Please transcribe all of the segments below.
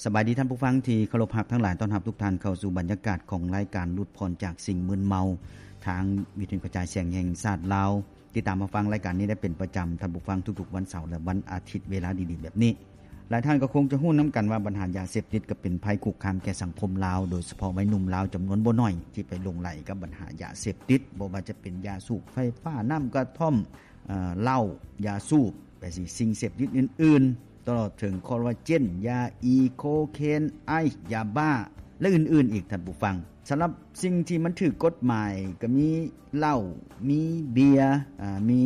ສະບາຍດີທ່ານຜູ້ຟັງທີ່ເຄົາລົບຮັກທັງຫຼາຍ, ຕ້ອນຮັບທຸກທ່ານເຂົ້າສູ່ບັນຍາກາດຂອງລາຍການຫຼຸດຜ່ອນຈາກສິ່ງມຶນເມົາ ທາງວິທະຍຸກະຈາຍສຽງແຫ່ງຊາດລາວ. ຕິດຕາມຮັບຟັງລາຍການນີ້ໄດ້ເປັນປະຈຳ, ທ່ານຜູ້ຟັງ, ທຸກໆວັນເສົາ ແລະ ວັນອາທິດເວລາດີໆແບບນີ້. ຫຼາຍທ່ານກໍຄົງຈະຮູ້ນຳກັນວ່າບັນຫາຢາເສບຕິດກໍເປັນໄພຄຸກຄາມແກ່ສັງຄົມລາວ, ໂດຍສະເພາະໄວໜຸ່ມລາວຈຳນວນບໍ່ໜ້ອຍທີ່ໄປຫຼົງໄຫຼກັບບັນຫາຢາເສບຕິດ, ບໍ່ວ່າຈະເປັນຢາສູບໄຟຟ້າ, ນ້ຳກະທ່ອມ, ເອີ, ເຫຼົ້າ, ຢາສູບ, ແບບນີ້ ສິ່ງເສບຕິດອື່ນໆ ຕະຫຼອດເຖິງຄໍລາເຈນ, ຢາອີ, ໂຄເຄນ, ໄອສ໌, ຢາບ້າ ແລະ ອື່ນໆອີກ, ທ່ານຜູ້ຟັງ. ສຳລັບສິ່ງທີ່ມັນຖືກກົດໝາຍກໍມີເຫຼົ້າ, ມີເບຍ, ອາ, ມີ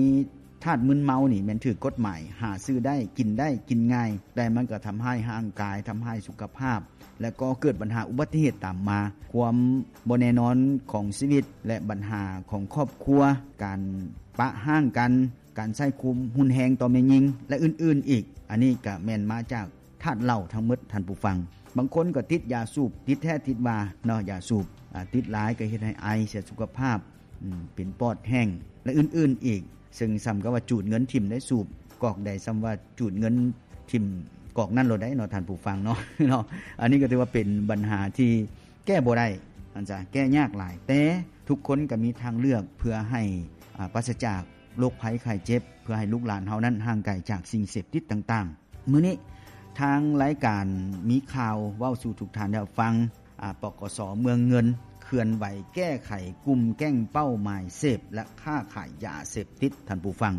ທາດມຶນເມົານີ້ແມ່ນຖືກກົດໝາຍ, ຫາຊື້ໄດ້, ກິນໄດ້, ກິນງ່າຍ, ແຕ່ມັນກໍທຳຮ້າຍຮ່າງກາຍ, ທຳຮ້າຍສຸຂະພາບ ແລະ ກໍເກີດບັນຫາອຸບັດຕິເຫດຕາມມາ. ຄວາມບໍ່ແນ່ນອນຂອງຊີວິດ ແລະ ບັນຫາຂອງຄອບຄົວ, ການປະຮ້າງກັນ, ການໃຊ້ຄວາມຮຸນແຮງຕໍ່ແມ່ຍິງ ແລະ ອື່ນໆອີກ. ອັນນີ້ກະແມ່ນມາຈາກທາດເຫຼົ້າທັງໝົດ, ທ່ານຜູ້ຟັງ. ບາງຄົນກໍຕິດຢາສູບ, ຕິດແທ້ຕິດວ່າເນາະ, ຢາສູບ, ອາ, ຕິດຫຼາຍກໍເຮັດໃຫ້ໄອ, ເສຍສຸຂະພາບ, ອືມ, ເປັນປອດແຫ້ງ ແລະ ອື່ນໆອີກ. ເຊິ່ງສ່ຳກັບວ່າຈູດເງິນຖິ້ມໄດ້ສູບກອກໃດ, ສ່ຳວ່າຈູດເງິນຖິ້ມກອກນັ້ນໂລດໄດ໋ເນາະ, ທ່ານຜູ້ຟັງເນາະ, ເນາະ. ອັນນີ້ກໍຖືວ່າເປັນບັນຫາທີ່ແກ້ບໍ່ໄດ້, ອັນຈະແກ້ຍາກຫຼາຍ, ແຕ່ທຸກຄົນກໍມີທາງເລືອກເພື່ອໃຫ້, ອາ, ປາສະຈາກໂລກໄພໄຂ້ເຈັບ, ເພື່ອໃຫ້ລູກຫຼານເຮົານັ້ນຫ່າງໄກຈາກສິ່ງເສບຕິດຕ່າງໆ. ມື້ນີ້ທາງລາຍການມີຂ່າວເວົ້າສູ່ທຸກທ່ານໄດ້ຮັບຟັງ, ອາ, ປກສ ເມືອງເງິນ ເຄື່ອນໄຫວແກ້ໄຂກຸ່ມແກ້ງເປົ້າໝາຍເສບ ແລະ ຄ້າຂາຍຢາເສບຕິດ, ທ່ານຜູ້ຟັງ.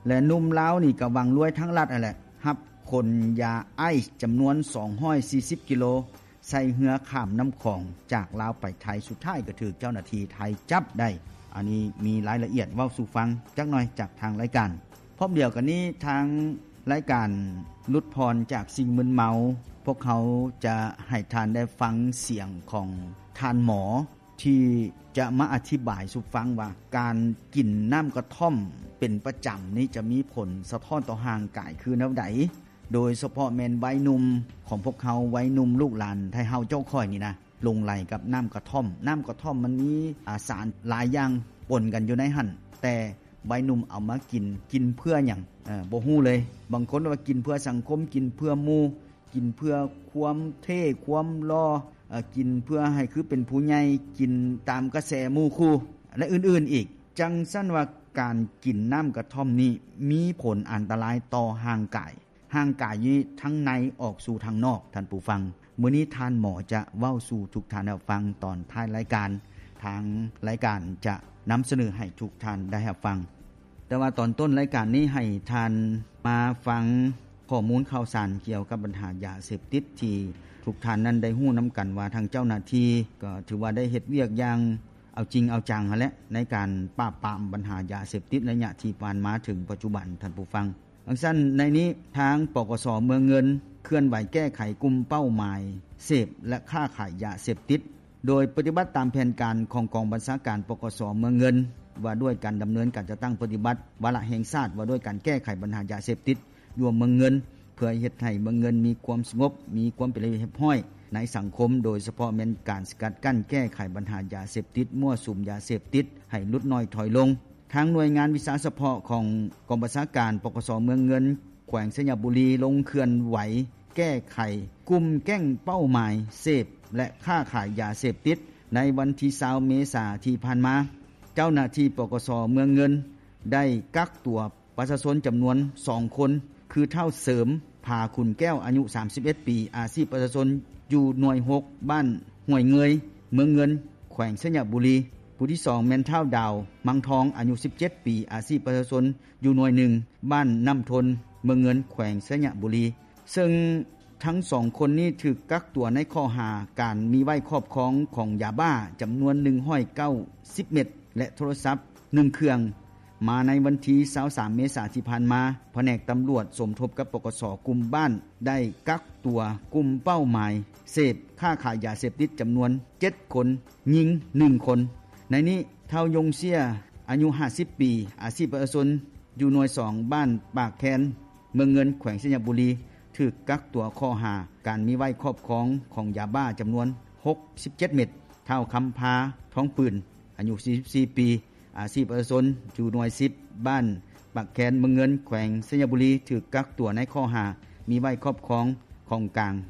ແລະ ໜຸ່ມລາວນີ້ກໍຫວັງລວຍທາງລັດຫັ້ນແຫຼະ, ຮັບຂົນຢາໄອສ໌ຈຳນວນສອງຮ້ອຍສີ່ສິບກິໂລ ໃສ່ເຮືອຂ້າມນ້ຳຂອງຈາກລາວໄປໄທ, ສຸດທ້າຍກໍຖືກເຈົ້າໜ້າທີ່ໄທຈັບໄດ້. ອັນນີ້ມີລາຍລະອຽດເວົ້າສູ່ຟັງຈັກໜ່ອຍຈາກທາງລາຍການ. ພ້ອມດຽວກັນນີ້, ທາງລາຍການຫຼຸດຜ່ອນຈາກສິ່ງມຶນເມົາ, ພວກເຮົາຈະໃຫ້ທ່ານໄດ້ຟັງສຽງຂອງທ່ານໝໍ ທີ່ຈະມາອະທິບາຍສູ່ຟັງວ່າ ການກິນນ້ຳກະທ່ອມເປັນປະຈຳນີ້ຈະມີຜົນສະທ້ອນຕໍ່ຮ່າງກາຍຄືແນວໃດ, ໂດຍສະເພາະແມ່ນໄວໜຸ່ມຂອງພວກເຮົາ, ໄວໜຸ່ມລູກຫຼານໄທເຮົາເຈົ້າຂ້ອຍນີ້ນະ ຫຼົງໄຫຼກັບນ້ຳກະທ່ອມ. ນ້ຳກະທ່ອມມັນມີ ອາ ສານຫຼາຍຢ່າງປົນກັນຢູ່ໃນຫັ້ນ, ແຕ່ໄວໜຸ່ມເອົາມາກິນ, ກິນເພື່ອຫຍັງ? ເອີ ບໍ່ຮູ້ເລີຍ. ບາງຄົນວ່າກິນເພື່ອສັງຄົມ, ກິນເພື່ອໝູ່, ກິນເພື່ອຄວາມເທ່ຄວາມຫຼໍ່, ເອີ ກິນເພື່ອໃຫ້ຄືເປັນຜູ້ໃຫຍ່, ກິນຕາມກະແສໝູ່ຄູ່ ແລະ ອື່ນໆອີກ. ຈັ່ງຊັ້ນວ່າການກິນນ້ຳກະທ່ອມນີ້ມີຜົນອັນຕະລາຍຕໍ່ຮ່າງກາຍ, ຮ່າງກາຍຢູ່ທາງໃນອອກສູ່ທາງນອກ, ທ່ານຜູ້ຟັງ. ມື້ນີ້ທ່ານໝໍຈະເວົ້າສູ່ທຸກທ່ານໄດ້ຮັບຟັງຕອນທ້າຍລາຍການ, ທາງລາຍການຈະນຳສະເໜີໃຫ້ທຸກທ່ານໄດ້ຮັບຟັງ. ແຕ່ວ່າຕອນຕົ້ນລາຍການນີ້ໃຫ້ທ່ານມາຟັງຂໍ້ມູນຂ່າວສານກ່ຽວກັບບັນຫາຢາເສບຕິດ ທີ່ທຸກທ່ານນັ້ນໄດ້ຮູ້ນຳກັນວ່າ ທາງເຈົ້າໜ້າທີ່ກໍຖືວ່າໄດ້ເຮັດວຽກຢ່າງເອົາຈິງເອົາຈັງຫັ້ນແຫຼະ ໃນການປາບປາມບັນຫາຢາເສບຕິດໄລຍະທີ່ຜ່ານມາເຖິງປັດຈຸບັນ, ທ່ານຜູ້ຟັງ. ດັ່ງຊັ້ນໃນນີ້ ທາງ ປກສ ເມືອງເງິນ ເຄື່ອນໄຫວແກ້ໄຂກຸ່ມເປົ້າໝາຍເສບ ແລະ ຄ້າຂາຍຢາເສບຕິດ ໂດຍປະຕິບັດຕາມແຜນການຂອງກອງບັນຊາການ ປກສ ເມືອງເງິນ ວ່າດ້ວຍການດຳເນີນການຈັດຕັ້ງປະຕິບັດວາລະແຫ່ງຊາດ ວ່າດ້ວຍການແກ້ໄຂບັນຫາຢາເສບຕິດຢູ່ເມືອງເງິນ ເພື່ອເຮັດໃຫ້ເມືອງເງິນມີຄວາມສະຫງົບ, ມີຄວາມເປັນລະບຽບຮຽບຮ້ອຍໃນສັງຄົມ, ໂດຍສະເພາະແມ່ນການສະກັດກັ້ນແກ້ໄຂບັນຫາຢາເສບຕິດ, ມົ້ວສຸມຢາເສບຕິດໃຫ້ຫຼຸດນ້ອຍຖອຍລົງ. ທາງໜ່ວຍງານວິຊາສະເພາະຂອງກອງບັນຊາການ ປກສ ເມືອງເງິນ ແຂວງໄຊຍະບູລີ ລົງເຄື່ອນໄຫວແກ້ໄຂກຸ່ມແກ້ງເປົ້າໝາຍເສບ ແລະ ຄ້າຂາຍຢາເສບຕິດ ໃນວັນທີຊາວເມສາທີ່ຜ່ານມາ. ເຈົ້າໜ້າທີ່ ປກສ ເມືອງເງິນ ໄດ້ກັກຕົວປະຊາຊົນຈຳນວນສອງຄົນ ຄືທ້າວເສີມ ຜາຂຸນແກ້ວ ອາຍຸສາມສິບເອັດປີ, ອາຊີບປະຊາຊົນຢູ່ໜ່ວຍຫົກ ບ້ານຫ້ວຍເງີຍ ເມືອງເງິນ ແຂວງໄຊຍະບູລີ. ຜູ້ທີສອງແມ່ນທ້າວດາວ ມັງທອງ ອາຍຸສິບເຈັດປີ, ອາຊີບປະຊາຊົນຢູ່ໜ່ວຍໜຶ່ງ ບ້ານນ້ຳທົນ ເມືອງເງິນ ແຂວງໄຊຍະບູລີ. ເຊິ່ງທັງສອງຄົນນີ້ຖືກກັກຕົວໃນຂໍ້ຫາການມີໄວ້ຄອບຄອງຂອງຢາບ້າຈຳນວນໜຶ່ງຮ້ອຍເກົ້າສິບເມັດ ແລະ ໂທລະສັບໜຶ່ງເຄື່ອງ. ມາໃນວັນທີຊາວສາມເມສາທີ່ຜ່ານມາ, ພະແນກຕຳຫຼວດສົມທົບກັບ ປກສ ກຸ່ມບ້ານ ໄດ້ກັກຕົວກຸ່ມເປົ້າໝາຍເສບ, ຄ້າຂາຍຢາເສບຕິດຈຳນວນເຈັດຄົນ, ຍິງໜຶ່ງຄົນ. ໃນນີ້ ທ້າວຍົງເຊຍ ອາຍຸຫ້າສິບປີ, ອາຊີບປະຊາຊົນ ຢູ່ໜ່ວຍສອງ ບ້ານປາກແຄນ ເມືອງເງິນ ແຂວງໄຊຍະບູລີ ຖືກກັກຕົວຂໍ້ຫາການມີໄວ້ຄອບຄອງຂອງຢາບ້າຈຳນວນຫົກສິບເຈັດເມັດ. ທ້າວຄຳພາ ທອງປືນ ອາຍຸສີ່ສິບສີ່ປີ, ອາຊີບປະຊາຊົນ ຢູ່ໜ່ວຍສິບ ບ້ານປາກແຄນ ເມືອງເງິນ ແຂວງໄຊຍະບູລີ ຖືກກັກຕົວໃນຂໍ້ຫາມີໄວ້ຄອບຄອງຂອງກາງ